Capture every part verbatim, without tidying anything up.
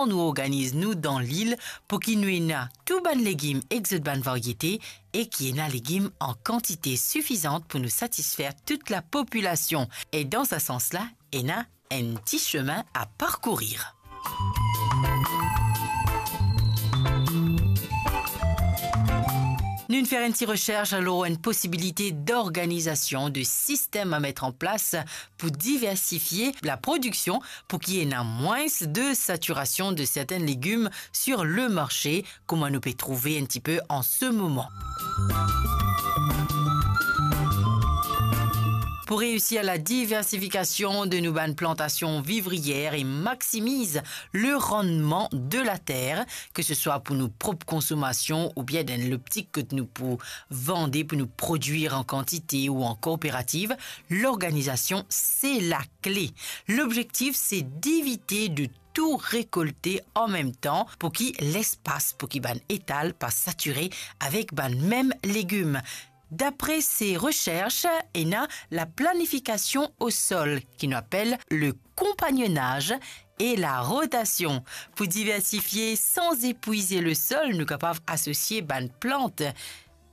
nou organiz nou dan lil pou ki nou ena tou bann legim ek zot bann variete e ki ena legim an kantite sifizant pou nou satisfer tout lapopilasion. E dan sa sans la, ena enn ti semin a parkourir. Nou'nn fer enn ti resers lor enn posibilite d'organizasion, de sistem a met an plas pou diversifie laprodiksion, pou ki ena mwins de satirasion de sertin legim sir le marse, kouma nou pe trouve enn tipe an se moman. Pou reisir la diversifikasion de nou bann plantasion vivrier e maximiz le rannman de later, ke se swa pou nou prop konsomasion oubien dan loptik kot nou pou vande, pou nou prodwir an kantite ou an kooperativ, lorganizasion se lakle. Lobzektif se devite de tou rekolte an mem tan pou ki lespas pou ki bann etal pa satire avek bann mem legim. Dapre se resers, ena laplanifikasion o sol, ki nou apel le konpagnonaz e la rotasion. Pou diversifie san epwize le sol, nou kapav asosie bann plant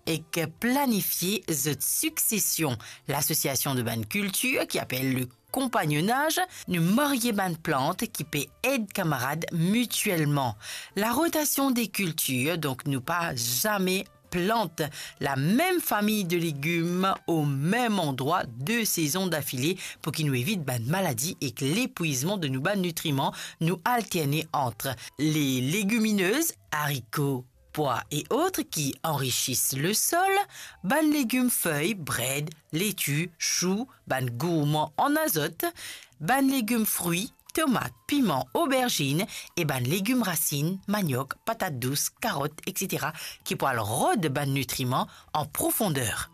ek planifie zot siksesion. Lasosiasion de bann kiltir, ki apel le konpagnonaz, nou marye bann plant ki pe ed kamarad mitielman. La rotasion de kiltir, donk nou pa zame plant lamem fami de legim o mem andrwa de sezon dafile, pou ki nou evit bann maladi ek lepwizman de nou bann nitriman. Nou alterne ant le legiminez, ariko, pwa e ot ki anrisis le sol, bann legim fey, bred, leti, sou, bann gourman an azot, bann legim fri, tomat, piman, oberzinn e bann legim rasinn, maniok, patat dous, karot, etsetera, ki pou al rod bann nitriman an profonder.